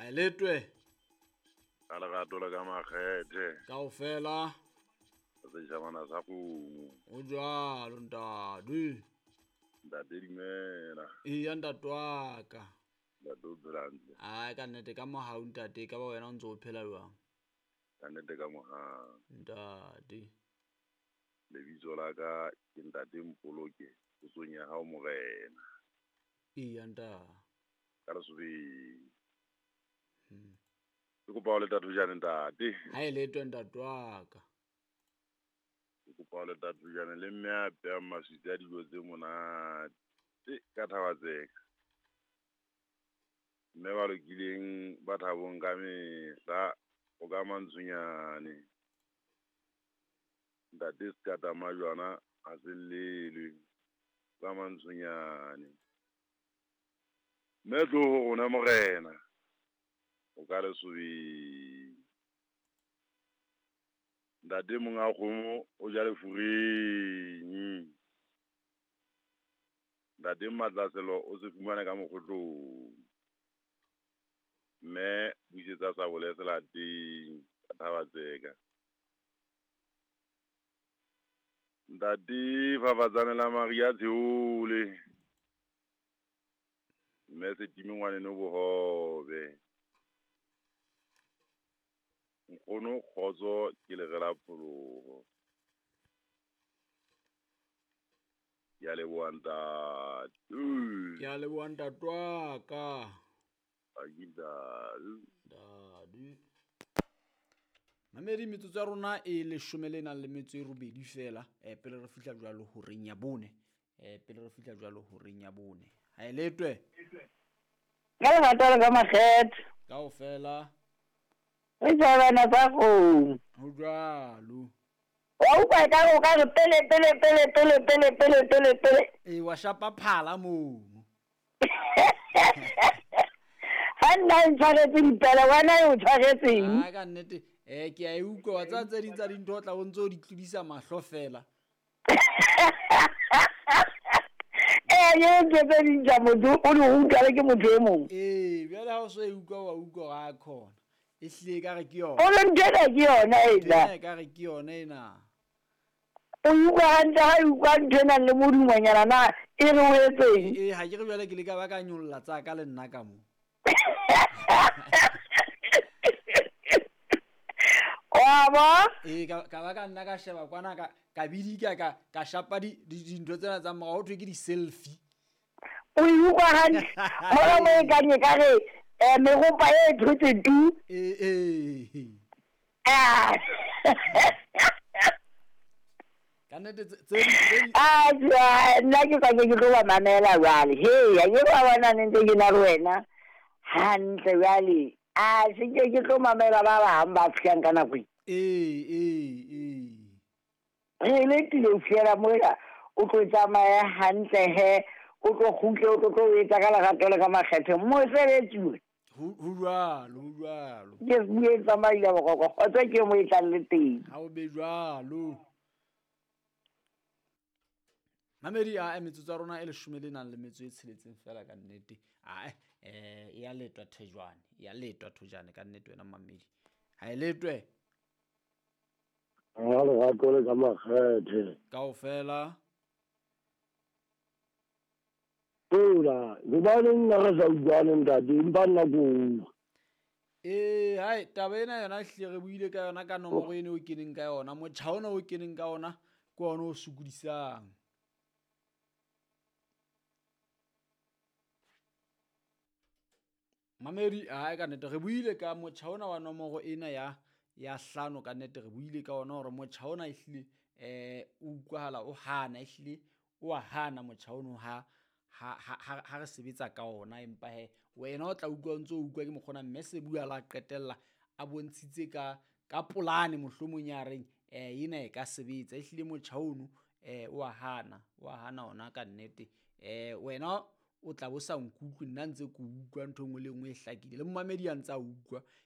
A e letwe. Ka lerato le ka makgethe. Kaofela. Setjhabana sa kgomo. O jwalo ntate. Ntate dumela. Eya ntate wa ka. Ntate o phela hantle. Ai ka nnete ka mohau ntate, ka ba wena o ntse o phela jwang? Ka nnete ka mohau. Ntate. Lebitso la ka ke ntate Mpoloke, potsong ya hao morena. Eya ntate. Ka lesobeng. Ke kopa ho leta thojane ntate. Ha e letwe ntate wa ka. Ke kopa ho leta thojane le mme a pehang maswitsi a dijo tse monate ka Thabatseka. Mme ba lokileng ba thabong ka mehla o ka mantshonyane. Ntate Sekata Majwana ha se llelwe ka mantshonyane. Mme tlo ho rona morena o ka lesobeng. Ntate monga kgomo o ja lefureng. Ntate Matlaselo o se fumane ka mokgotlong. Mme buisetsa sabole selateng ka Thabatseka. Ntate Fafatsane la Maria Tsheole. Mme Setime ngwaneno bohobe. Nkgono kgotso ke lere la pholoho. Ke a leboha ntate. Ke a leboha ntate wa ka. Ntate. Mamedi metsotso ya rona e leshome le nang le metso e robedi fela, pele re fihla jwalo horeng ya bone. Pele re fihla jwalo horeng ya bone. Ha e letwe. Ka lerato le ka makgethe. Kaofela. Re tjhabana tsa kgomo. Ho jwalo. Wa utlwa ekare o ka re pele, pele, pele, pele, pele, pele, pele, pele. Ee, wa shapa phala mono. Ha nna e ntshwaretse dipele, wena e o tshwaretseng? Ha ka nnete, ke a e utlwa, wa tseba tse ding tsa dintho o tla o ntso o di tlodisa mahlo fela. Ee, ntho tse ding tsa motho o di utlwa le ke motho e mong. Ee, bjale ha o so e utlwa wa utlwa hore a khona. E hlile ekare ke yona. O re ntho ena ke yona ena. Ntho ena ekare ke yona ena. O utlwa hantle ha e utlwa ntho e nang le modumonyana na e re o etseng? Ee, ha ke re jwale ke le ka ba ka nyolla tsa ka le nna ka mo. Wa bo? Ee, ka ba ka nna ka sheba kwana ka bidika ka shapa dintho tsena tsa morao, ho thwe ke di-selfie. O e utlwa hantle. Mona mo e kang e ka re, meropa e thotse tu. Ee, ee. Ka nnete tse di- Ah, jwa, nna ke ka ke tlo ba mamela jwale. He, ha ke ba bona ne ntse ke na le wena hantle jwale. A se ke ke tlo mamela ba bang ba fihlang ka nako e. Ee, ee, ee. Re letile ho fihlela mola o tlo tsamaya hantle he, o tlo kgutle, o tlo tlo etsa ka lerato le ka makgethe. Mosebetsi o. Ho jwalo, ho jwalo. Ke bue tsamaile boroko, kgotso ke mo e tlang le teng. Ha o be jwalo. Mamedi a metsotso ya rona e leshome le nang le metso e tsheletseng fela ka nnete. A e ya letwa thejwane, e ya letwa thojane ka nnete wena mamedi. Ha e letwe. Ha lerato le ka makgethe. Kaofela. Ola, hobaneng nna re sa utlwane ntate, empa nna ke utlwa. Ee, hai, taba ena yona ehlile re buile ka yona ka nomoro eno o keneng ka yona, motjha ona o keneng ka ona ke ona o sokodisang. Mamedi, hai ka nnete re buile ka motjha ona wa nomoro ena ya hlano ka nnete re buile ka ona hore motjha ona ehlile, o utlwahala o hana, ehlile o a hana motjha ono ha re sebetsa ka ona, empa he wena o tla utlwa o ntso utlwa ke mokgona mme se bua la qetella a bontshitse ka polane mohlomong ya reng, ena e ka sebetsa. Ehlile motjha ono, o a hana, o a hana ona ka nnete. Wena o tla bo sa nkutlwe, nna ntse ke utlwa ntho e nngwe le nngwe e hlakile, le momamedi a ntse a utlwa.